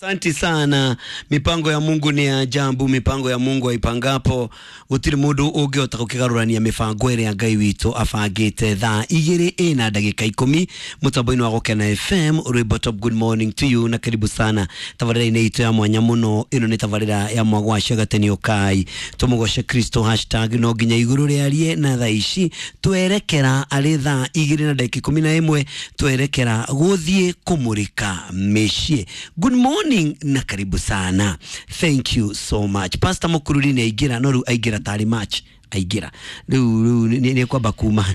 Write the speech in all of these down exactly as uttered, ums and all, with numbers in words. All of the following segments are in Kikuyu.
Asante sana. Mipango ya Mungu ni ya ajabu, mipango ya Mungu aipangapo gutiri mundu ungihota gukigarurania mibango iria Ngai witu abangite. Thaa igiri ina ndagika ikumi mutambo-ini wa Gukena F M, rwimbo top. Good morning to you na karibu sana tabarira-ini itu ya mwanya muno. Ino ni tabarira ya mwagwacia gatenio kai tumugoce Kristo hashtag no nginya iguru riarie. Na thaa ici twerekera ari thaa igiri na ndagika ikumi na imwe twerekera guthie kumurika micii. Good morning na karibu sana, thank you so much. Pastor Mukururi ni aingira, no riu aingira tari match aingira riu riu ni kwamba kuma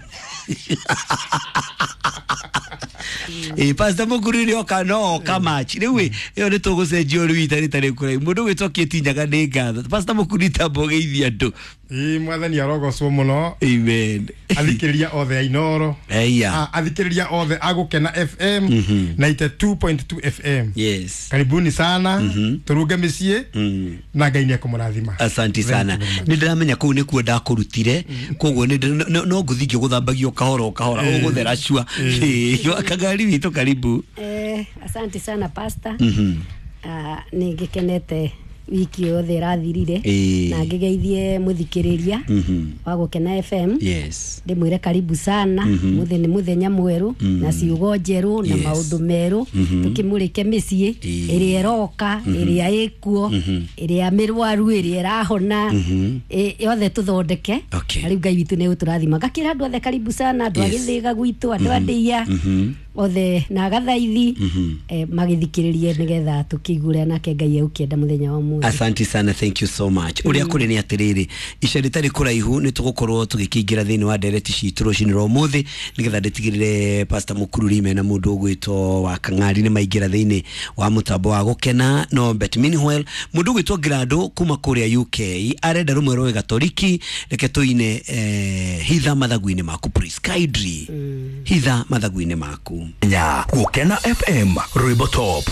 Eh, Pastor Mukururi oka no oka match riu iyo ni tugucenjia riu itari tari kurai mundu gwitwo Kĩtinyaga nĩ ngatho. Pastor Mukururi tambo geithia andu. Ĩ mwathani arogocwo muno. Amen. Athikĩrĩria othe a Inoro, eya, athikĩrĩria othe a Gũkena F M ninety two point two F M. Yes, karibuni sana. mm -hmm. Turunge mĩciĩ mm. na Ngai nĩ ekũmũrathima. Asanti sana. Nĩ ndĩramenya kũu nĩkuo ndakũrutire, koguo no ngũthiĩ ngĩgũthambagia kahora o kahora ũgũthera cua kagari witũ. Karibu. Eh, asante sana pastor. mm -hmm. Uh, nĩ ngĩkenete wiki yothe ĩrathirire na ngĩgeithie mũthikĩrĩria wa Gũkena F M. Yes, ndĩmwĩre karibu sana. Mũthĩ nĩ mũthenya mwerũ na ciugo njerũ na maũndũ merũ, tũkĩmũrĩke mĩciĩ ĩrĩa ĩroka, ĩrĩa ĩkuo, ĩrĩa mĩrwaru, ĩrĩa ĩrahona, yothe tũthondeke. Na rĩu Ngai witũ nĩ egũtũrathima. Ngakĩra andũ othe karibu sana, andũ a Gĩthĩga gwitũ, andũ a Ndĩia othe na Gathaithi, magĩthikĩrĩrie nĩgetha tũkĩigure nake Ngai egũkĩenda mũthenya wa ũmũthĩ. Asante sana, thank you so much. Uria kuri ni atiriri, ica ritari kuraihu ni tugukorwo tugikiingira thiini wa ndereti citu rucini rwa umuthi nigetha nditigirire Pastor Mukururi mena mundu ugwitwo wa Kang'ari ni maingira thiini wa mutambo wa Gukena. No but meanwhile mundu ugwitwo Grado kuma kuria U K arenda rumwe rwa Gatoliki, reke tuine eh, hitha mathagu-ini maku please kindly, mm. hitha mathagu-ini maku nya Gukena F M rwimbo top.